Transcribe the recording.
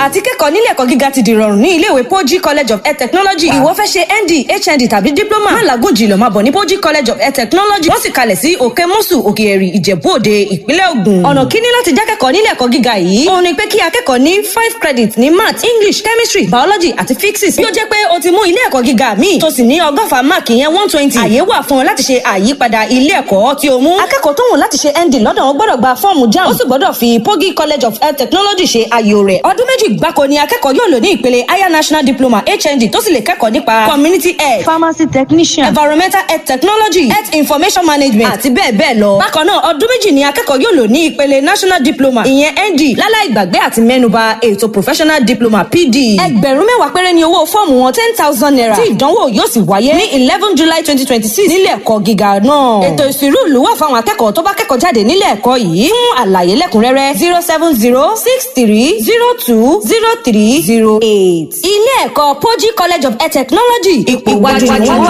Àti kẹ́kọ̀ọ́ nílé ẹ̀kọ́ gíga ti dìrọ̀rùn ní iléèwé Poji College of Health Technology. Ìwọ fẹ́ ṣe ND, HND tàbí diploma, má làágùn jìnà, máa bọ̀ ní Poji College of Health Technology. Wọ́n sì kalẹ̀ sí Òkè Mùsù, Òkè Ẹ̀rì, Ìjẹ̀bú Òde, Ìpínlẹ̀ Ògùn. Ọ̀nà kíní láti jákẹ́kọ̀ọ́ nílé ẹ̀kọ́ gíga yìí òun ni pé kí akẹ́kọ̀ọ́ ní 5 credit ní math, English, chemistry, biology àti physics. Bí ó jẹ́ pé o ti mú ilé ẹ̀kọ́ gíga míì tó sì ní 100 máàkì yẹn 120, àyè wà fún ọ láti ṣe àyípadà ilé ẹ̀kọ́ tí o mú. Akẹ́kọ̀ọ́ tó wù láti ṣe ND lọ́dọ̀ wọn gbọ́dọ̀ gba fọ́ọ̀mù JAMB, ó sì gbọ́dọ̀ fi Pogi College of Health Technology ṣe àyò rẹ̀. Ọdún 2 gbáko ni akẹ́kọ̀ọ́ yóò lò ní ìpele higher national diploma, HND, tó sì lè kẹ́kọ̀ọ́ nípa community health, pharmacy technician, environmental health technology, health information management àti bẹ́ẹ̀ bẹ́ẹ̀ lọ. Bákan náà, ọdún 2 ni akẹ́kọ̀ọ́ yóò lò ní ìpele national diploma, ìyẹn ND, láláì gbàgbé àti mẹ́nuba ètò professional diploma, PD. 10,000 péré ni owó fọ́ọ̀mù wọn, ₦10,000, tí ìdánwò yóò sì wáyé ní 11 July 2026 nílé ẹ̀kọ́ gíga náà. Ètò ìsìnrú ìlú wà fáwọn akẹ́kọ̀ọ́ tó bá kẹ́kọ̀ọ́ jáde nílé ẹ̀kọ́ yìí. Fún àlàyé lẹ́kùnrẹ́rẹ́, 07063020308. Ilé ẹ̀kọ́ Poji College of Air Technology, ipò iwájú ni wọ́n wà.